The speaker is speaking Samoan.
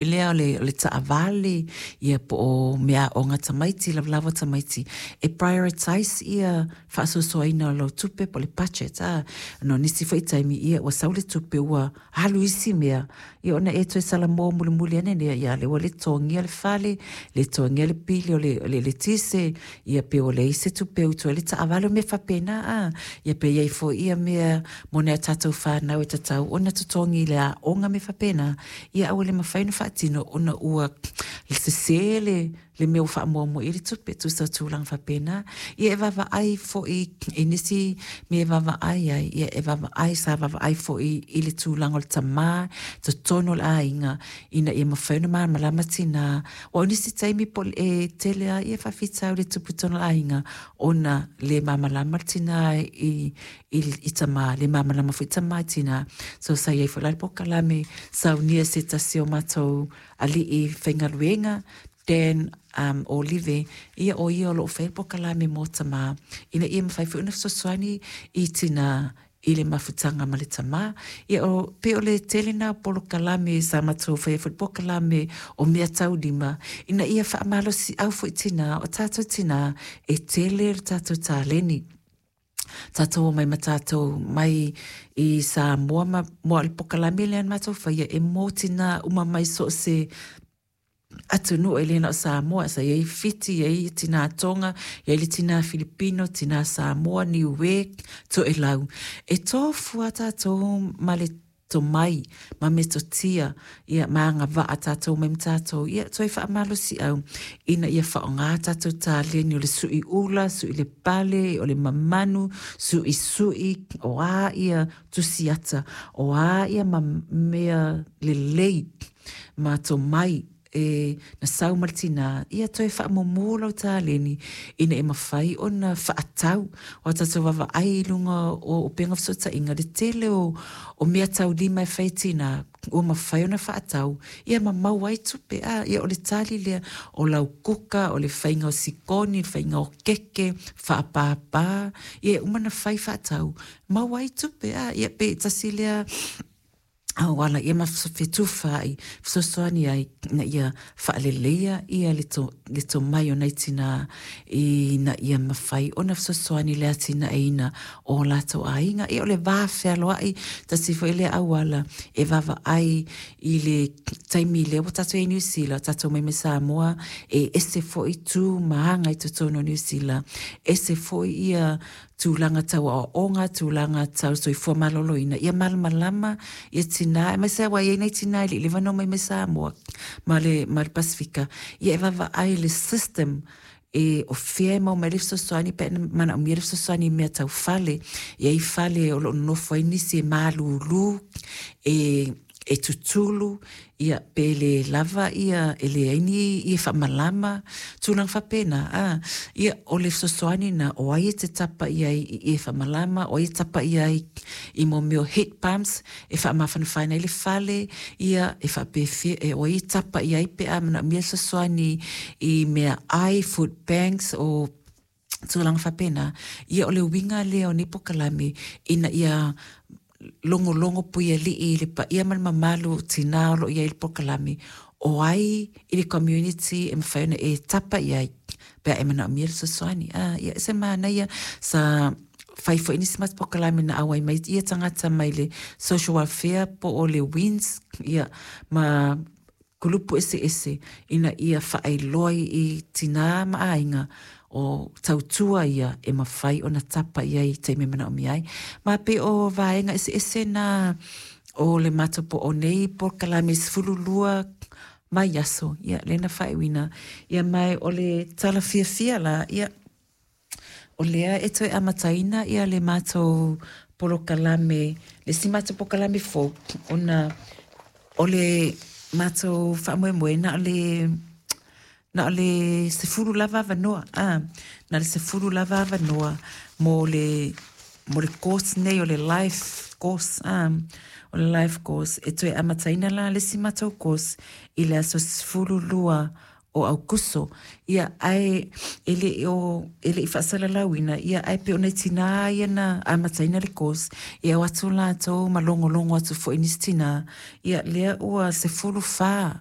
Lea o le taavale, ia po o meaaoga a tamaiti, lavalava o tamaiti, e prioritize ia faasoasoaina o lau tupe po o le budget a. Ona o nisi foi taimi, ia ua sau le tupe ua alu i isi mea, ia ona e toe salamo mulimuli ane lea, ia lea ua le totogia le fale, le totogia le pili o le eletise, ia pe ua leai se tupe e utu ai le taavale, o mea faapena a. Ia pe i ai foi ia mea mo nai a tatou fanau e tatau ona totogi i le aoga ma mea faapena, ia ae ua le mafai ona faatino ona ua sese le mea ua faamuamua i ai le tupe, tusa o tulaga faapena. Ia e vaavaai foi i nisi mea e vaavaai ai, ia e vaavaai, sa vaavaai foi i le tulaga o le tama i totonu o le aiga ina ia mafai ona malamalama tina. Aua o nisi taimi e tele lava faafitauli e tupu i totonu o le aiga ona le malamalama le tina i i tama, le malamalama foi tama i tina. So sa i ai foi la le polokalame saunia e se tasi o matou alii faigaluega, Dan Olive, ia o ia o lo o faia le polokalame mo tama, ina ia mafai foi ona fesoasoani i tina i le mafutaga ma le tama. Ia o, pei o le tele lena o polokalame sa matou faia foi le polokalame o meataulima, ina ia faamalosiau foi tina, o tatou tina, e tele le tatou taleni. Tatou omai ma tatou mai i Samoa ma o le polokalame lea na matou faia e mo tina uma mai so o se atunuu e le na o Samoa. Sa i ai Fiti, i ai tina Tonga, i ai le tina Filipino, tina Samoa, Niue, Toelau. E tofu lava tatou ma le tomai ma metotia, ia, ma agavaa tatou mai ma tatou, ia, toe faamalosiau ina ia faaaoga tatou taleni o le sui ula, sui le pale, o le mamanu, suisui, o a ia tusiata, o a ia ma mea lelei ma tomai e na sau ma le tinā, ia toe faamumu lau taleni ina ia mafai ona faatau. Aua tatou vaavaai i luga o upega o fesootaiga, le tele o, o meataulima e fai e tinā, ua mafai ona faatau, ia ma maua ai tupe. A, ia o le tali lea, o lau kuka, o le faiga o sikoni, le faiga o keke, faapāpā, ia e uma ona fai faatau, maua ai tupe. A, ia pe tasi lea auala ia ma fetufaai, fesoasoani ai ina ia faaleleia ia le, to, le tomai o nai tinā ina ia mafai ona fesoasoani i le atinaeina o latou aiga. Ia o le va fealoai, tasi foi lea auala e vaavaai i le taimi lea ua tatou i ai i Niu Sila, tatou omai mai Samoa, e ese foi tu ma aga i totonu o Niu Sila, ese foi ia tulaga tau aoaoga, tulaga tau soifua maloloina, ia malamalama ia tina, aemaise lava aua e i ai nai tina e le i leva ona omai mai Samoa ma le, ma le Pasefika, ia e vaavaai i le system e o fea e maua mai ai le fesoasoani pe a manaomia le fesoasoani i mea tau fale. E i ai fale o lo o nonofo ai nisi e malulu, e e tutulu, ia, pe le lava ia, e leai ni ie faamalama, tulaga faapena, a. Ia, o le fesoasoani lena, o ai e te tapa i ai i ie faamalama, o ai e tapa i ai i mo mea o heat pumps e faamafanafana ai le fale, ia, e faapefea, e o ai e tapa i ai pe a manaomia le fesoasoani i meaai, food banks, o tulaga faapena, ia o le uiga lea o nei polokalame ina ia logologo puialii i le paia ma le mamalu o tina o lo o i ai i le polokalame, o ai i le community e mafai ona e tapa i ai pe a e manaomia le fesoasoani. Ah, ia e se manaia sa fai foi nisi matou polokalame na auai mai ia tagata mai le social welfare po o le WINS, ia, ma kulupu eseese ina ia faailoa i tinā ma aiga o tautua ia e mafai ona tapa i ai i taimi e manaomia ai. Ma pei o vaega eseese na o le matou po o nei polokalame 12 vaiaso, ia lea na faaiuina. Ia ma o le tala fiafia la, ia O lea e toe amataina ia le matou polokalame, le isi matou polokalame fou, ona o le matou faamoemoe na o le na o le 10 lava avanoa, a, na o le 10 lava avanoa mo le mo le course nei o le life course, a, o le life course. E toe amataina la le isi matou course i le aso 12. o Aukuso. Ia, ae e le o e le i faasalalauina, ia ae pei o nai tinā ia na amataina le course, ia o atu latou ma logologo atu foi i nisi tinā, ia lea ua 14.